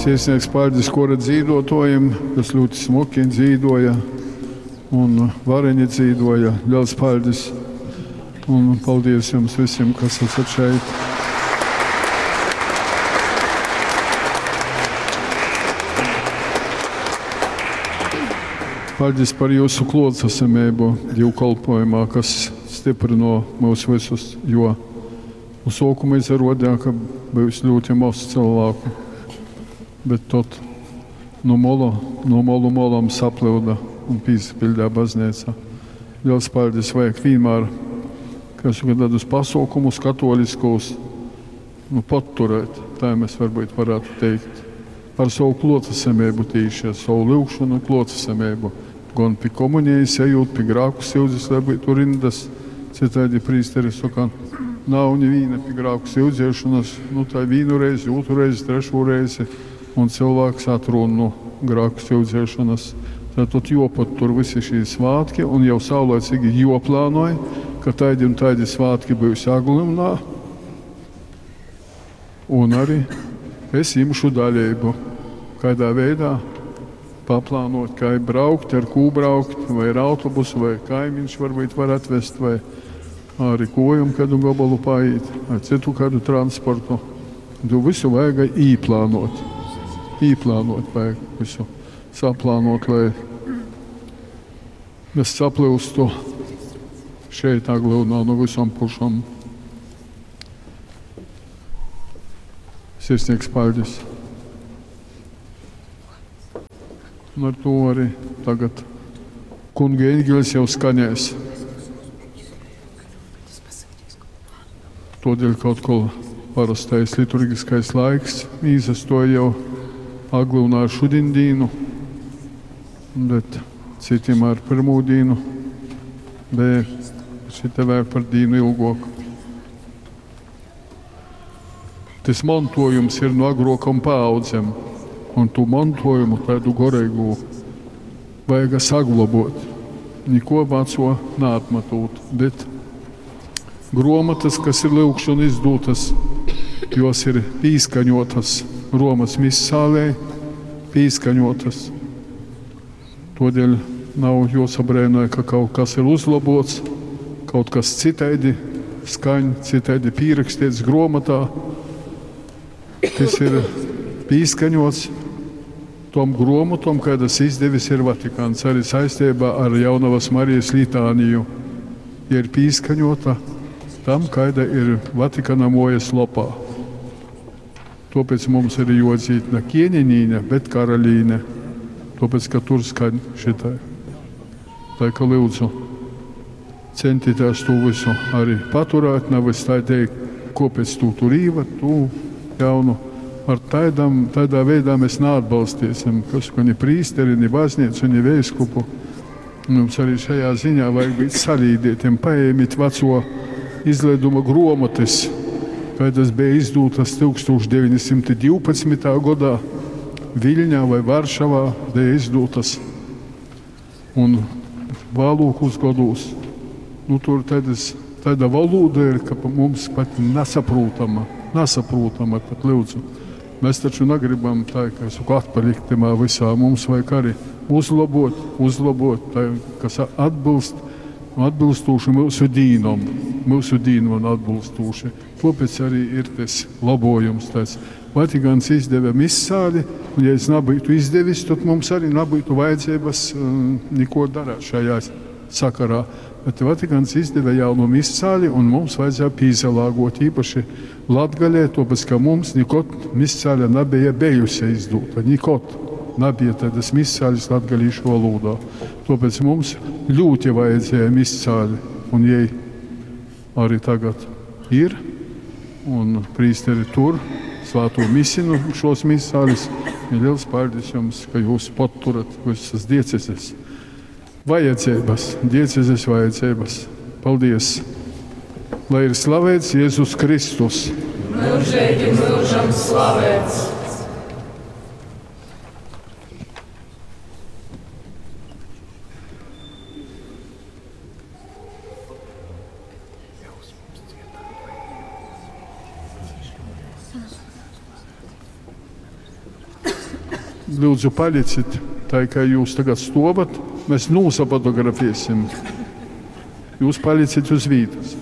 Sirsnīgs paļdis kora dzīduotuojim, kas ļoti smuki dzīduoja un vareni dzīduoja. Liels paļdis! Un paldies jums visiem, kas esat šeit! Paļdis par jūsu kluotsasameibu dīvkolpojumā, kas stypryno myus vysus, jo nu suokuma izaruodeja, ka byus ļūti moz cylvāku, bet tod nu molu, nu molu molom saplyuda un pīsapiļdeja bazneica. Liels paļdis! Vajag vīnmār, kai soka, tādus pasuokumus katoliskūs, nu, podturēt, tai mēs varbūt varētu teikt, ar savu kluotasameibu tīši, ar savu lyugšonu kluotasameibu. Gon pi komunijas ejūt, pi grāku syudzes, lai byutu rindas, cytaidi prīsteri soka, nav nivīna pi grāku syudziešonas, nu tai vīnu reizi, ūtru reizi, trešū reizi, un cylvāks atrūn nu grāku syudziešonas. Tātad juopatur vysi šī svātki un jau saulaicīgi juoplānoj, ka taidi un taidi svātki byus Aglyunā. Un arī es jimšu daļeibu. Kaidā veidā paplānot, kai braukt, ar kū braukt, vai ar autobusu, vai kaimiņš varbūt var atvest, vai arī kojom kādu gabalu paiet, ar citu kādu transportu. Tu visu vajag īplānot. Īplānot vajag visu. Saplānot, lai mēs saplyustu šeit Aglyunā no visām pušām. Sirsnīgs paļdis. Un ar to arī tagad kunga eņģelis jau skanēs. Todēļ kaut ko parastais liturgiskais laiks īsastoja jau Aglyunā ar šudiņdīnu, bet citim ar pirmūdīnu, bet šite vēl par dīnu ilgok. Tys montuojums ir nu agruokom paaudzem, un tū montuojumu taidu goreigū vajaga saglobuot, nikuo vacuo naatmatūt, bet gruomotys, kas ir lyugšonu izdūtys, juos ir pīskaņuotys Romas misālei, pīskaņuotys. Tuodeļ nav juosabreinoj, ka kaut kas ir uzlobuots, kaut kas cytaidi skaņ, cytaidi pīraksteits gruomotā. Tys ir pīskaņuots tom gruomotom, kaidas izdevis ir Vatikans, arī saistībā ar Jaunavas Marijas litāniju. Ja ir pīskaņota tam, kaida ir Vatikana muojas lopā. Tuopēc mums ir juodzīd na ķieņenīne, bet karalīne. Tuopēc, ka tur skaņ šitai. Tai ka lyudzu, centīties to visu arī paturēt, nevis tā teikt, kopēc tu tur īvad, tu jaunu. Ar taidam, tādā veidā mēs neatbalstīsim, kas, ka ni prīsteri, ni baznīcu, ni veiskupu. Mums arī šajā ziņā vajag būt salīdētiem. Paēmit veco izlaiduma gruomotas, kādas bija izdūtas 1912. gadā Viļņā vai Varšavā bija izdūtas. Un vēlākos gados, nu, tur tādas, tāda valoda ir, ka mums pat nesaprotama, nesaprotama pat lūdzu. Mēs taču negribam tā, kā es saku, atpalikt tamā visā. Mums vajag arī uzlabot, uzlabot, tā, kas atbilst, atbilstoši mūsu dīnom, mūsu dīnom atbilstoši. Tāpēc arī ir tas labojums tāds. Vatikāns izdeva misāli, un ja es nebūtu izdevis, tad mums arī nebūtu vajadzības neko darīt šajā sakarā. Bet Vatikāns izdeva jaunu misāli, un mums vajadzēja pīzalāgot īpaši Latgalē, tāpēc, ka mums nekad misāle nebija bijusi izdota. Nekad nebija tādas misāles latgalīšu valodā. Tāpēc mums ļoti vajadzēja misāli, un jai arī tagad ir, un prīsteri tur svēto misinu šos misāles. Ir liels paldies jums, ka jūs paturat visas dieceses vajadzības, diecezes vajadzības. Paldies! Lai ir slavēts Jēzus Kristus! Mūžīgi mūžam slavēts! Lyudzu, palicit tai, kai jūs tagad stuovat, mēs nūsafotografēsim. Jūs palicit uz vītys.